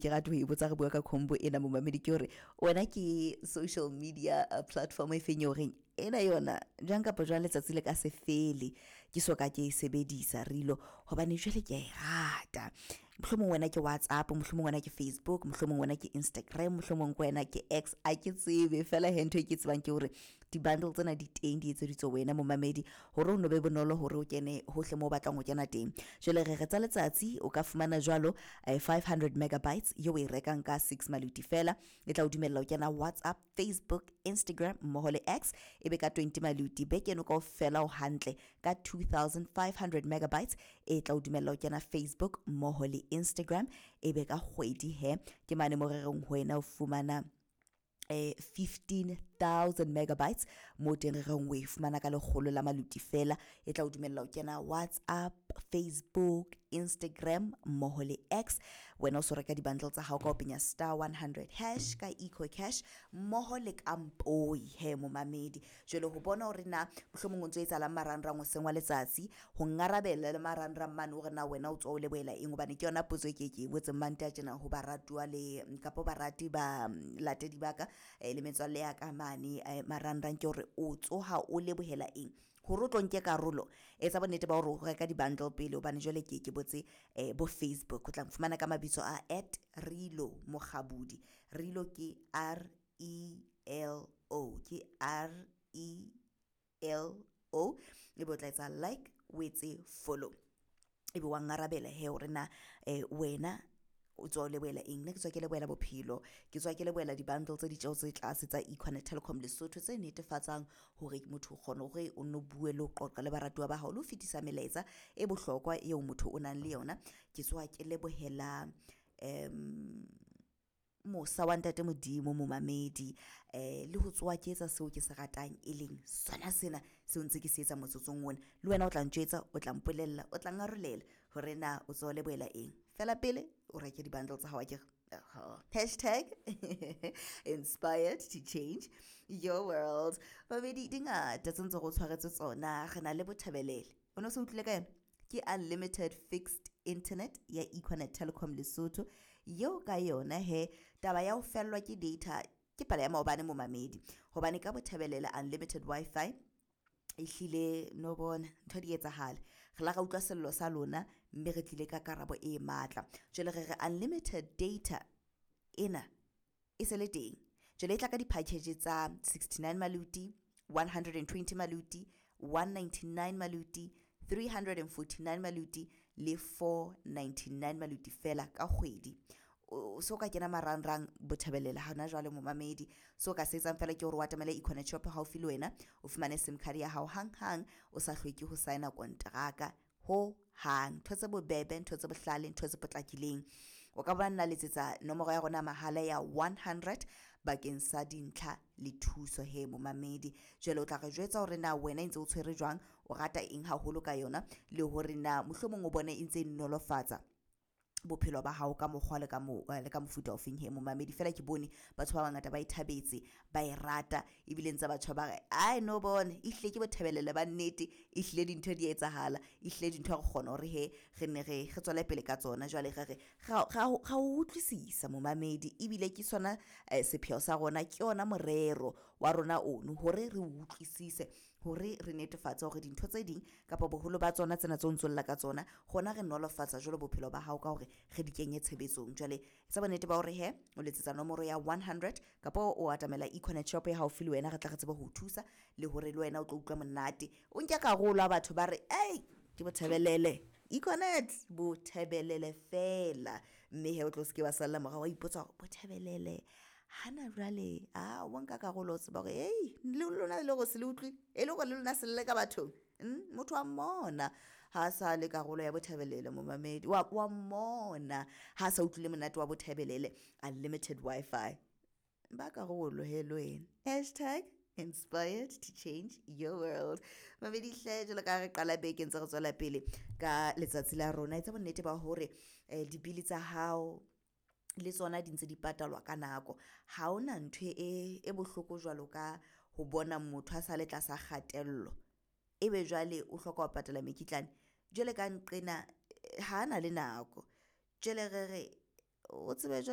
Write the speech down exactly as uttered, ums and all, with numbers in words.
ke rate ho e botsa re bua ka combo ena momamedi ke hore wena ke social media uh, platform e feng eo reng ena yona jwang kapa jwang letsatsi le ka se fele ke so ka ke e sebedisa rilo hobane jwale ke a e rata. Mohlomong wena ke WhatsApp, mohlomong wena ke Facebook, mohlomong wena ke Instagram, mohlomong ke wena ke X, a ke tsebe fela he ntho e ke tsebang ke hore di-bundle tsena di teng di etseditswe wena momamedi hore o no be bonolo hore o kene hohle moo o batlang ho kena teng. Jwale re re tsa letsatsi o ka fumana jwalo eh, five hundred megabytes eo o e rekang ka six maluti fela, e tla o dumella ho kena WhatsApp, Facebook, Instagram mmoho le X, ebe ka twenty maluti beke eno kaofela o hantle ka two thousand five hundred megabytes e tla o dumella ho kena Facebook mmoho le Instagram, ebe ka kgwedi he ke mane mo re reng ho wena o fumana eh fifteen thousand megabytes mo teng re reng o e fumana ka lekgolo la maluti fela, e tla o dumella ho kena WhatsApp, Facebook, Instagram mmoho le X. Wena o so reka di-bundle tsa hao ka ho penya star one hundred hash ka EcoCash mmoho le ka mpoi he momamedi. Jwale ho bona hore na mohlomong o ntso etsahalang marangrang hoseng wa letsatsi, ho ngarabela le marangrang mane hore na wena o tswa o lebohela eng, hobane ke yona potso e ke ke e botseng mante a tjena ho baratuwa le kapa barati ba latedi ba ka eh, le metswalle ya ka mane eh, marangrang, ke hore o tsoha o lebohela eng hore o tlo nke karolo. Etsa bonnete ba hore o reka di-bundle pele, hobane jwale ke ke botse eh, bo Facebook o tla nfumana ka mabitso a at Rilo Mokgabudi. Rilo ke R E L O, ke R E L O, ebe o tla etsa like, o etse follow, ebe wa ngarabela he hore na eh, wena o tswa o lebohela eng. Nna ke tswa ke lebohela bophelo, ke tswa ke lebohela di-bundle tse ditjeho tse tlase tsa Econet Telecom Lesotho tse netefatsang hore motho o kgona hore o nno bue le ho qoqa le baratuwa ba hao le ho fetisa melaetsa e bohlokwa eo motho o nang le yona. Ke tswa ke lebohela um mosa wa ntate Modimo momamedi eh le ho tsoha ke etsa seo ke se ratang e leng sona sena seo ntse ke se etsa motsotsong ona. Le wena o tla ntjwetsa, o tla mpolella, o tla ngarolela hore na o tswa o lebohela eng. Fela pele o reke di-bundle tsa hao akere. Hashtag inspired to change your world. Babedi di ngata tse ntse go tshwaretse tsona. Re na le Bothabelele, o no se utlwile ka yona? Ke unlimited fixed internet ya Econet Telecom Lesotho yeo ka yona he taba ya ho fellwa ke data ke pala ya maobane momamedi, hobane ka Bothabelele unlimited Wi-Fi ehlile no bona ntho di etsahala. Re la ra utlwa sello sa lona mme re tlile ka karabo e matla. Jwale re re unlimited data ena e se le teng. Jwale e tla ka di-package tsa sixty-nine maluti, one hundred and twenty maluti, one ninety-nine maluti, three hundred and forty-nine maluti le four ninety-nine maluti fela ka kgwedi. O so ka kena marangrang Bothabelele hona jwale momamedi. So ka se etsang fela ke hore o atamele Econet shop haufi le wena, o fumane SIM card ya hao hanghang, o sa hloke ho signa kontraka ho hang. Ntho tse bobebe, ntho tse bohlale, ntho tse potlakileng. O ka ba nna letsetsa nomoro ya rona mahala ya one hundred bakeng sa dintlha le thuso he momamedi. Jwale o tla re jwetsa hore na wena e ntse o tshwere jwang, o rata eng haholo ka yona, le hore na mohlomong o bone e ntse e nolofatsa bophelo ba hao ka mokgwa le ka mo, le ka mofuta o feng he momamedi. Fela ke bone batho ba bangata ba e thabetse, ba e rata, ebile ntse batho ba re ai no bone ehlile ke Bothabelele ba nnete, ehlile dintho di etsahala, ehlile dintho re kgona hore he re ne re re tswele pele ka tsona. Jwale re re ra ra ra o utlwisisa momamedi, ebile ke sona eh, sepheo sa rona, ke yona morero wa rona ono hore re utlwisise, hore re netefatse hore dintho tse ding kapa boholo ba tsona tsena tse o ntso lla ka tsona rona re nolofatsa jwalo bophelo ba hao ka hore re di kenye tshebetsong. Jwale etsa bonnete ba hore he o letsetsa nomoro ya one hundred kapa o atamela Econet shop ya haufi le wena, re tla re tsebe ho o thusa le hore le wena o tlo utlwa monate. O nke karolo ha batho ba re ei ke Bothabelele Econet, Bothabelele fela, mme he o tlo se ke wa salla morao wa ipotsa hore Bothabelele hana jwale a wa nka karolo, o tseba hore ei le lona le hore se le utlwile e le hore le lona se lle ka bathong. Mm, motho wa mmona ha sa le karolo ya Bothabelele momamedi, wa wa mmona ha sa utlwile monate wa Bothabelele unlimited Wi-Fi. Ba karolo he le wena. Hashtag inspired to change your world. Mamedi hle, jwalo ka re qala beke ntse re tswela pele ka letsatsi la rona, etsa bonnete ba hore eh, dibili tsa hao le tsona di ntse di patalwa ka nako. Ha hona ntho e e bohloko jwalo ka ho bona motho a sa le tlasa kgatello, ebe jwale o hloka ho patala mekitlane. Jwale ka nqena ha na le nako, jwale re re o tsebe jwale